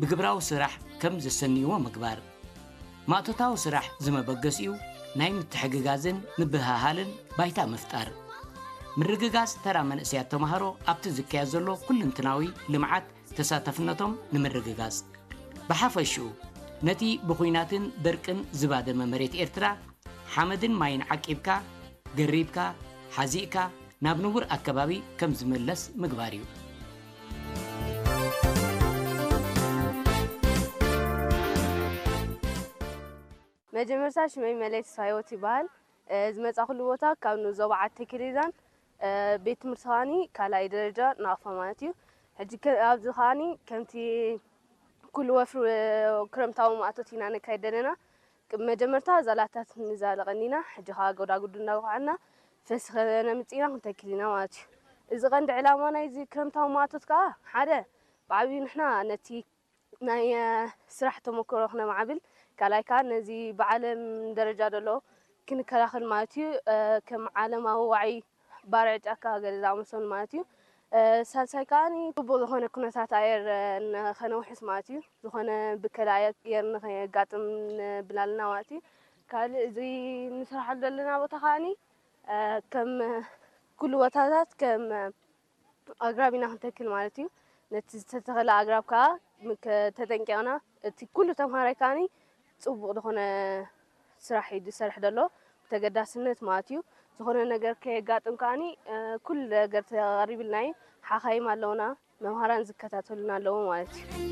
ብግብራዊ ስራሕ ከም ዘሰንይዎ ምግባር። ማእቶታዊ ስራሕ ዝመበገሲኡ ናይ ምትሕግጋዝን ምብህሃልን ባይታ ምፍጣር። ምርግጋጽ ተራ መንእሰያት ተማሃሮ ኣብቲ ዝካየድ ዘሎ ኩልንትናዊ ልምዓት ተሳታፍነቶም ንምርግጋጽ። ብሓፈሽኡ፣ ነቲ ብኹናትን ደርቅን ዝባደመ መሬት ኤርትራ፣ ሓመድን ማይን ዓቂብካ፣ ገሪብካ፣ ሓዚእካ፣ ናብ ንቡር ኣከባቢ ከም ዝምለስ ምግባር እዩ። መጀመርታ ሽመይ መለይ ተስፋ ህይወት ይበሃል። ዝመጻኹሉ ቦታ ካብ ንዞባ ዓዲ ተክሊዛን ቤት ትምህርቲ ከዓኒ ካልኣይ ደረጃ ናቕፋ ማለት እዩ። ሕጂ ኣብዚ ከዓኒ ከምቲ ኩሉ ወፍሪ ክረምታዊ ማእቶት ኢና ነካይድ ዘለና። መጀመርታ ዛላታት ንዛለ ቀኒና፣ ሕጂ ከዓ ጎዳጉዲ እናወቕዐና ፈሲ ከነምፅእ ኢና ክንተክል ኢና ማለት እዩ። እዚ ቀንዲ ዕላማ ናይዚ ክረምታዊ ማእቶት ከዓ ሓደ ብዓብዩ ንሕና ነቲ ናይ ስራሕ ተመክሮ ክነማዕብል፣ ካልኣይ ከዓ ነዚ ብዓለም ደረጃ ዘሎ ክንከላኸል ማለት እዩ። ከም ዓለማዊ ዋዒ ባርዕ ጫካ ገለ ዝኣመሰሉ ማለት እዩ። ሳልሳይ ከዓ ፅቡቅ ዝኮነ ኩነታት ኣየር ንከነውሕስ ማለት እዩ። ዝኮነ ብከላ ኣየር ንከየጋጥም ንብላልና ማለት እዩ። ካልእ እዚ ንስራሓሉ ዘለና ቦታ ከዓኒ ከም ኩሉ ቦታታት ከም ኣግራብ ኢና ክንተክል ማለት እዩ። ነቲ ዝተተኸለ ኣግራብ ከዓ ተጠንቂቕና እቲ ኩሉ ተምሃራይ ከዓኒ ፅቡቕ ዝኾነ ስራሕ እዩ ዝሰርሕ ዘሎ ብተገዳስነት ማለት እዩ። ዝኾነ ነገር ከየጋጥም ከዓኒ ኩሉ ነገር ተቐሪብልና እዩ። ሓኻይም ኣለውና፣ መምሃራን ዝከታተሉና ኣለዉ ማለት እዩ።